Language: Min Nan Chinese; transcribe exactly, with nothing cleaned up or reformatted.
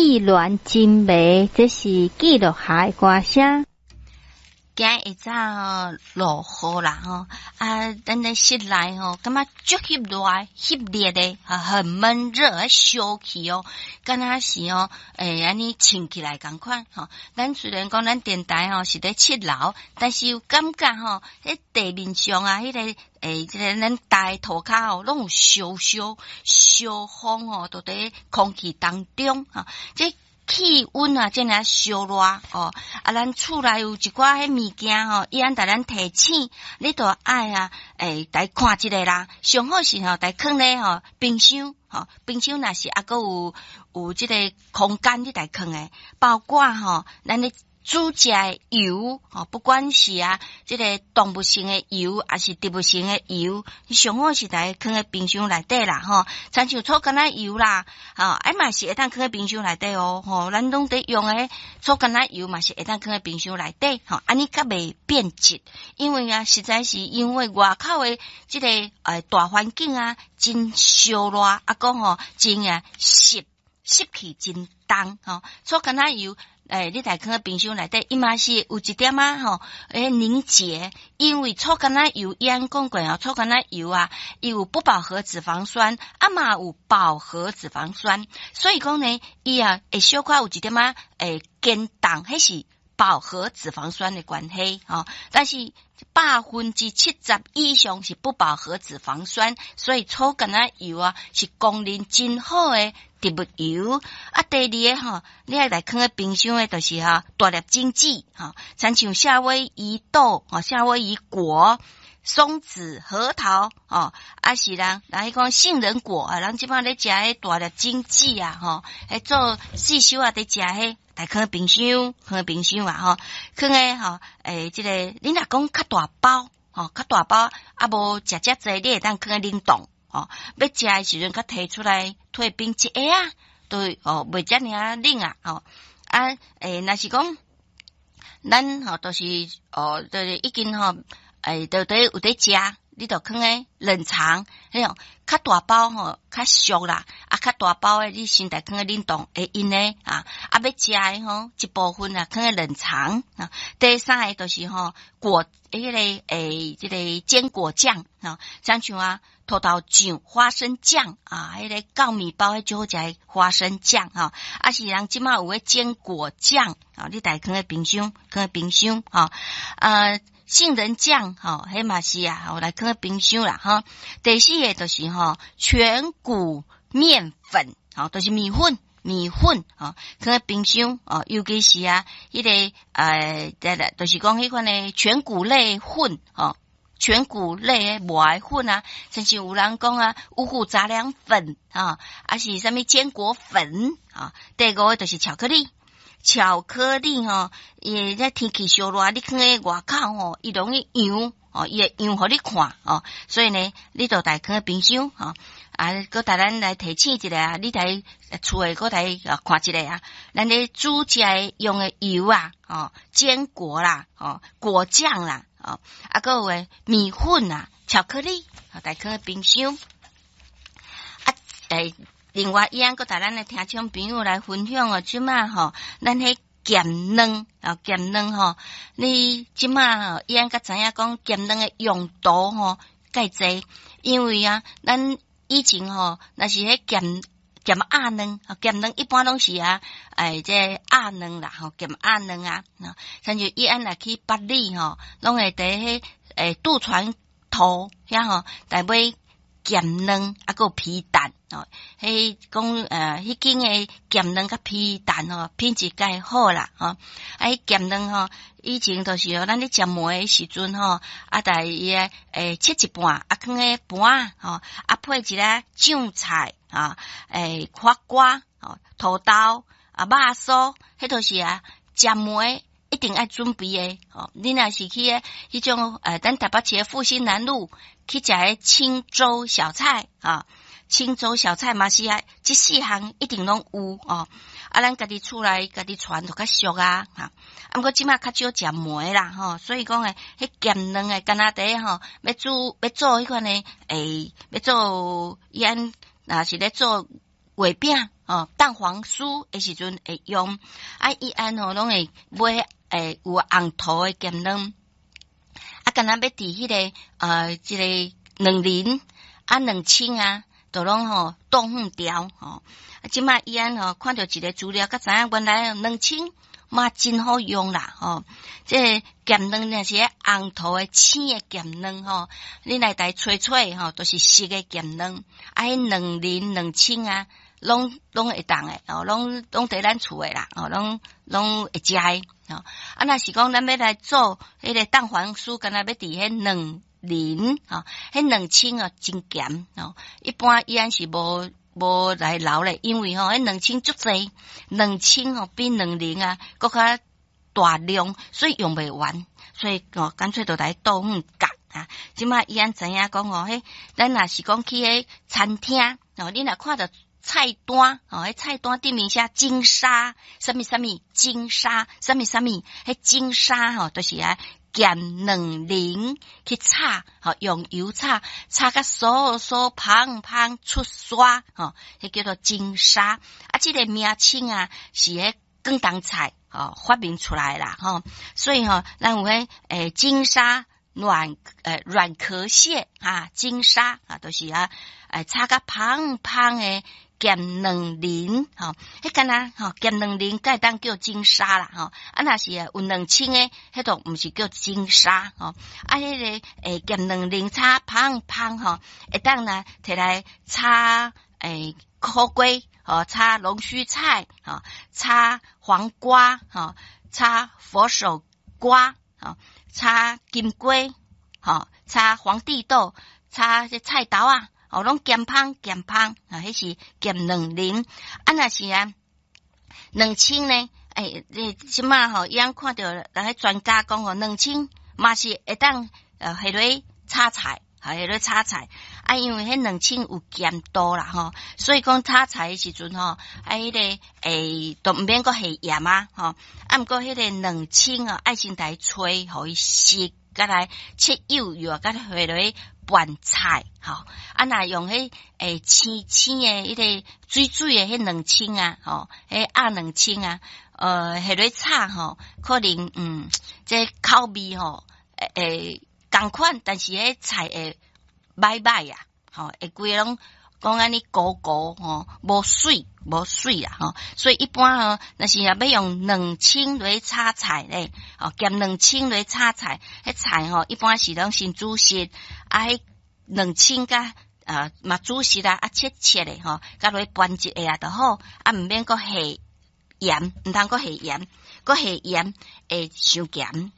意亂情迷，這是記錄下的歌聲。今日下早吼落雨啦吼，啊，咱咧室內吼感覺足翕熱、翕熱的，很悶熱，燒氣哦，敢若是哦，會按呢穿起來仝款吼。咱雖然講咱電台吼是佇七樓，但是有感覺吼，彼地面上啊，彼個欸，這个咱台塗跤吼，攏有燒燒燒風吼，都佇空氣當中吼，這氣溫啊，遮爾仔燒熱哦！啊，咱厝內有一寡彼物件吼，伊按共咱提醒，你著愛啊，欸，來看一下啦。上好是吼，來囥咧吼冰箱吼，冰箱若是猶閣有有這個空間，你來囥的，包括吼，咱咧煮食的油吼，不管是啊，這個動物性的油，抑是植物性的油，你上好是來囥佇冰箱內底啦，吼。親像草柑仔油啦，吼，啊嘛是會當囥佇冰箱內底哦，吼，咱攏佇用的草柑仔油嘛是會當囥佇冰箱內底，吼，按呢較袂變質。因為啊，實在是因為外口的這個呃大環境啊，真燒熱，啊閣吼真啊濕濕氣真重，吼，草柑仔油。欸，你來囥佇冰箱內底，伊嘛是有一點仔吼，欸凝結，因為草柑仔油，伊按講過哦，草柑仔油啊，伊有不飽和脂肪酸，啊嘛有飽和脂肪酸，所以講呢，伊啊會小可有一點仔會堅凍，彼是飽和脂肪酸的關係吼。但是百分之七十以上是不飽和脂肪酸，所以草柑仔油啊是公認真好的植物油。啊，第二个吼，你愛來囥佇冰箱的，就是吼大粒種子吼，親像夏威夷豆、吼夏威夷果、松子、核桃，吼，啊是人人彼講杏仁果啊，人這擺咧食彼大粒種子啊，吼，彼做細小仔佇食彼，來囥佇冰箱，囥佇冰箱啊，吼，囥佇吼，欸，這個你若講較大包，吼，較大包，啊無食遮濟，你會當囥佇冷凍，吼，欲食的時陣，才提出來退冰一下啊，對，哦，袂遮爾仔冷啊，吼，啊，欸，若是講咱吼，就是哦，就是已經吼，欸，就佇有佇食，你就囥佇冷藏，彼種較大包吼，較俗啦，啊，較大包的你先來囥佇冷凍會用的啊，啊，欲食的吼，一部分啊，囥佇冷藏啊。第三个就是吼果，彼個欸，這個堅果醬啊，親像啊，土豆醬、花生醬啊，彼個糙米包彼最好食的花生醬吼，啊是人這馬有彼堅果醬啊，你來囥佇冰箱，囥佇冰箱吼，啊。杏仁醬吼，彼嘛是啊，我來囥佇冰箱啦吼。第四个就是吼全穀麵粉，吼，就是麵粉，麵粉吼，囥佇冰箱哦，尤其是啊，彼個呃，就是講彼款的全穀類粉吼，全穀類的磨的粉啊，親像有人講啊，五穀雜糧粉啊，抑是啥物堅果粉啊。第五个就是巧克力。巧克力吼，伊這天氣燒熱，你囥佇外口吼，伊容易溶哦，伊會溶予你看哦，所以呢，你就來囥佇冰箱吼，啊，閣共咱來提醒一下啊，你來厝的閣來看一下啊，咱咧煮食的用的油啊，哦，堅果啦，哦，果醬啦，哦，啊，閣有的麵粉啊，巧克力，來囥佇冰箱。啊，欸，另外，伊按閣共咱的聽眾朋友來分享哦，這馬吼，咱彼鹹卵啊，鹹卵吼，你這馬吼，伊按閣知影講鹹卵的用途吼，蓋濟，因為啊，咱以前吼，若是彼鹹鹹鴨卵，鹹卵一般攏是啊，哎，這鴨卵啦，吼，鹹鴨卵啊，親像伊按若去八里吼，攏會佇彼欸渡船頭遐吼，來買鹹卵啊，閣有皮蛋哦。彼講呃，彼間的鹹卵佮皮蛋吼，品質蓋好啦吼。啊，彼鹹卵吼，以前就是哦，咱咧食糜的時陣吼，啊，共伊个欸切一半，啊，囥佇盤吼，啊，配一下醬菜啊，欸，花瓜吼，土豆啊，肉酥，彼都是啊，食糜一定愛準備的吼。你若是去彼種呃，咱台北市的復興南路去食彼清粥小菜啊，清粥小菜嘛是啊，這四項一定攏有哦。啊，咱家己厝內家己傳就較俗啊，哈。啊，毋過這馬較少食糜啦，吼，所以講的彼鹹卵的，敢若佇吼，欲煮欲做彼款的，欸，欲做伊按若是咧做月餅。吼，蛋黃酥的時陣會用。啊，伊按吼攏會買會有紅桃的鹹卵。啊，敢若欲佇彼個呃，這个卵仁啊，卵清啊，都攏吼剁粉條吼。啊，這擺伊按吼看著一个資料，才知影原來卵清嘛真好用啦吼。這个鹹卵若是紅桃的青的鹹卵吼，你來共吹吹吼，都是熟的鹹卵。啊，彼卵仁卵清啊，攏攏會當的哦，攏攏佇咱厝的啦，哦，攏攏會食的。吼，啊，若是講咱欲來做彼个蛋黃酥，敢若欲佇彼卵仁吼，彼卵清哦真鹹吼，一般伊按是無無來留咧，因為吼彼卵清足濟，卵清吼比卵仁啊閣較大量，所以用袂完，所以哦乾脆就來剁粉角啊。這擺伊按知影講吼，彼咱若是講去彼餐廳哦，你若看著菜單哦，彼菜單頂面寫金沙，啥物啥物金沙，啥物啥物，彼金沙吼，就是啊鹹卵仁去炒，吼用油炒，炒甲酥酥香香出沙，吼，彼叫做金沙。啊，這个名稱啊是彼廣東菜吼發明出來啦，吼，所以吼，咱有彼欸金沙軟呃軟殼蟹啊，金沙啊，都是啊，欸炒甲香香的鹹卵仁吼，彼敢若吼鹹卵仁才會當叫金沙啦吼，啊若是有卵清的，彼都毋是叫金沙吼，啊彼个欸鹹卵仁炒香香吼，會當呢提來炒欸苦瓜吼，炒龍鬚菜吼，炒黃瓜吼，炒佛手瓜吼，炒金瓜吼，炒皇帝豆，炒這菜豆仔。哦，攏鹹香鹹香啊！彼是鹹卵仁，啊，若是啊，卵清呢？欸，你這擺吼，伊按看著人彼專家講吼，卵清嘛是會當呃下落炒菜，下落炒菜。啊，因為彼卵清有鹹度啦吼，所以講炒菜的時陣吼，啊，彼个欸，都毋免閣下鹽啊吼。啊，毋過彼个卵清啊，愛先共吹，予伊熟，閣來切幼幼，閣下落拌菜吼。啊，若用彼欸青青的彼个水水的彼卵清啊，吼，彼鴨卵清啊，呃，下落炒吼，可能嗯，這口味吼會會仝款，但是彼菜會䆀䆀啊，吼，會規个攏講按呢糊糊吼，無媠無媠啦吼，所以一般吼，若是若欲用卵清來炒菜咧，吼，鹹卵清來炒菜，彼菜吼一般是攏先煮熟，啊，彼卵清佮啊嘛煮熟啊，啊切切的吼，佮落去拌一下就好，啊毋免閣下鹽，毋通閣下鹽，閣下鹽會傷鹹。